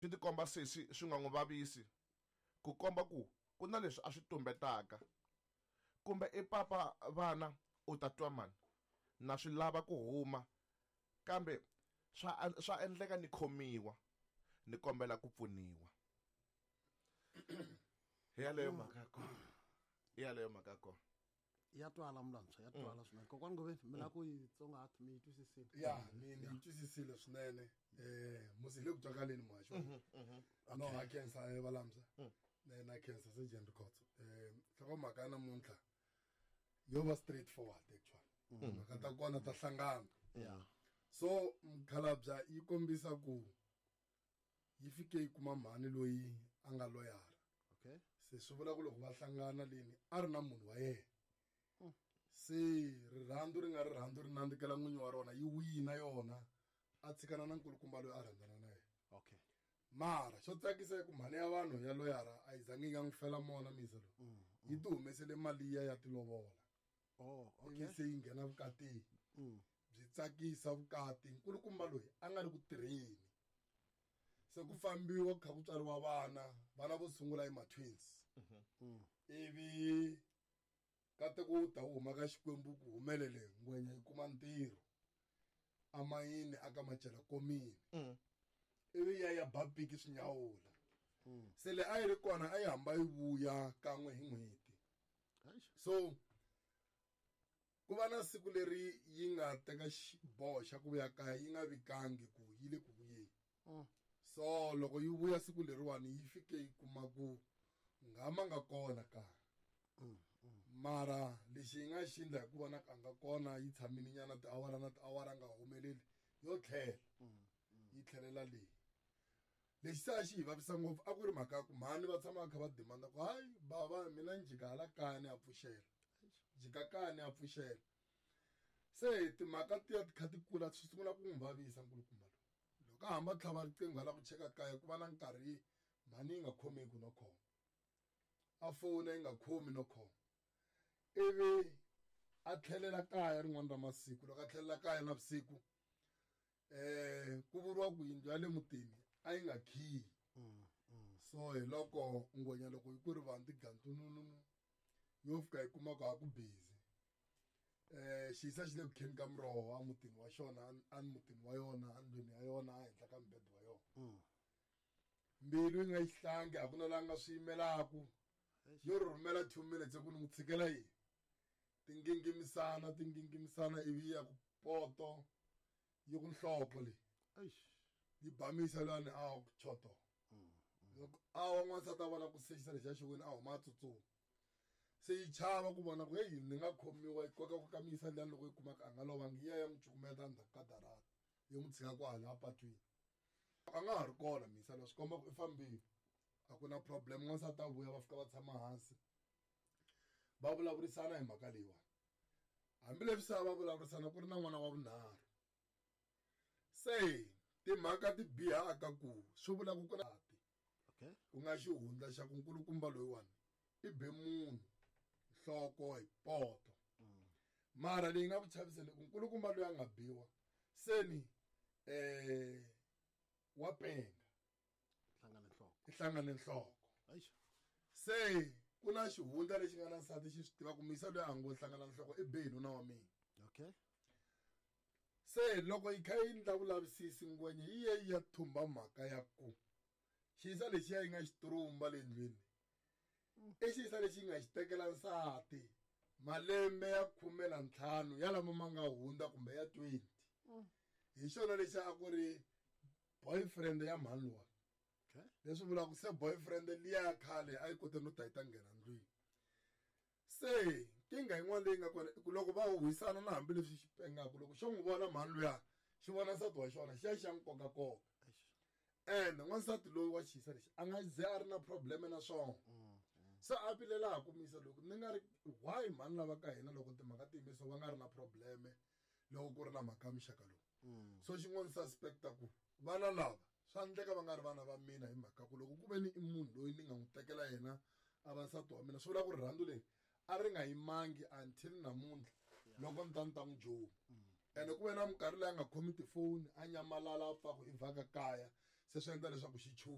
Swi tikomba sesi swi nga n'wi vavisi ku komba ku ku na leswi a swi tumbetaka. Kumbe i papa vana u ta twa mani na swi lava ku huma kambe swa swa endleka ni khomiwa ni kombela ku pfuniwa. Hi yaleyo mhaka ya kona. Hi yaleyo mhaka ya kona. Ya twala mulantshwa, ya twala swinene. Kokwani Ngoveni, mi lava ku yi tsongahata, mi yi twisisile? Ya, ni yi twisisile swinene. Musi hi le ku twakaleni muhaxi wa hina. No, ha khensa, valamsa. Na khensa Sergeant Rikhotso. Nhlokomhaka ya namuntlha yo va straight forward actually. Timhaka ta kona ta hlangana. So mukhalabya yi kombisa ku yi fike yi kuma mhani loyi a nga loyara. Se swi vula ku loko va hlangana leni a ri na munhu wa yena. Se rirhandzu ri nga rirhandzu ri nandzikela n'winyi wa rona, yi wina yona a tshikana na nkulukumba loyi a rhandzana na yena. Mara xo tsakisa i ku mhani ya vanhu ya loyara a yi zangi yi nga n'wi fela mona misa loyi. Yi ti humesele mali ya ya tilovola. Ivi se yi nghena vukatini. Byi tsakisa vukati, nkulukumba loyi a nga ri ku tirheni. Se ku fambiwa ku kha ku tswariwa vana, vana vo sungula i ma-twins. Ivi nkateko wu ta wu huma ka Xikwembu ku humelele ngwenya yi kuma ntirho amayini aka macela komini. Ivi ya ya ba piki swi nyawula. Se le a yi ri kona a yi hamba yi vuya kan'we hi n'hweti. So ku va na siku leri yi nga teka xiboho xa ku vuya kaya yi nga vikangi ku yi le ku vuyeni. So loko yi vuya siku leriwani yi fike yi kuma ku ngama nga kona kaya. Mara lexi yi nga xi endla hi ku vona ka nga kona yi tshamile nyana tiawara na tiawara nga humeleli yo tlhela. Yi tlhelela leyi. Lexi se a xi hi vavisa ngopfu a ku ri mhaka ya ku mhani va tshama va kha va demanda ku hayi bava mina ni jika hala kaya ni ya pfuxela. Jika kaya ni ya pfuxela. Se timhaka tiya ti kha ti kula swi sungula ku n'wi vavisa nkulukumba lowu. Loko a hamba tlhava riqingho a lava ku cheka kaya ku va na nkarhi mhani yi nga khomeki no khoma. A fona yi nga khomi no khoma. Ivi a tlhelela kaya rin'wana ra masiku. Loko a tlhelela kaya navusiku, ku vuriwa ku yindlu ya le mutini a yi nga khiyi. So hi loko ngwenya loko yi ku ri vanhu tigandlununu yo fika yi kuma ku a ku busy. Xiyisa xi le ku kheni ka muroho a mutini wa xona, a mutini wa yona, a ndlwini ya yona, a henhla ka mubedo wa yona. Mbilu yi nga yi hlangi, a ku na laha nga swi yimelaku. Yo rhumela 2 minutes ku ni n'wi tshikela yini. Tingingimisana, tingingimisana ivi ya ku poto yi ku nhloko leyi. Yi bamisa lani a ku choto. Loko a wa n'wansati a vona ku sexisa lexi a xi wini a huma a tsutsuma. Se yi chava ku vona ku hey ni nga khomiwa yi koka ku kamisa lani loko yi kuma ku a nga lovangi yi ya ya n'wi cukumeta endzhaku ka darata yi n'wi tshika kwala apatwini. A nga ha ri kona misa leswi komba ku i fambile. A ku na problem, n'wansati a vuya va fika va tshama hansi va vulavurisana hi mhaka leyiwani. Hambileswi se a va vulavurisana ku ri na n'wana wa vunharhu. Se timhaka ti bihaka ku swi vula ku ku na ti. Ku nga xihundla xa ku nkulukumba loyiwani i be munhu nhloko hi poto. Mara leyi nga ku chaviseni ku nkulukumba loyi a nga biwa seni wa penga. Hlangane nhloko. I hlangane nhloko. Eish. Se ku na xihundla lexi nga na nsati xi swi tiva ku misa loyi a ngo hlangana nhloko i be nuna wa mina. Se loko yi kha yi endla vulavisisi ngwenya yi ye yi ya thumba mhaka ya ku xiyisa lexiya yi nga xi trumba le ndlwini. I xiyisa lexi yi nga xi tekela nsati malembe ya khume na ntlhanu ya lama ma nga hundza kumbe ya 20. Hi xona lexi a ku ri boyfriend ya mhani luwa. Leswi vulaka ku se boyfriend liya ya khale a yi kote no ta yi ta nghena ndlwini. Se nkingha yin'wana leyi nga kona i ku loko va huhisana na hambileswi xi pengaka, loko xo n'wi vona mhani luya xi vona nsati wa xona xi ya xi ya n'wi kokakoka. And n'wansati loyi wa xiyisa lexi a nga ze a ri na problem na swona. Se a vilela ku misa loko ni nga ri why mhani lava ka hina loko timhaka ti yimisiwa va nga ri na problem loko ku ri na mhaka ya muxaka lowu. So xin'wana suspecta ku vana lava swa endleka va nga ri vana va mina hi mhaka ku loko ku ve ni i munhu loyi ni nga n'wi tekela yena a va nsati wa mina swi vula ku rirhandzu leri a ri nga yimangi until namuntlha loko ni ta ni ta n'wi juma. Ene ku ve na minkarhi leyi a nga khomi tifoni a nyamalala a pfa ku i vhaka kaya se swi endla leswaku xi chuha.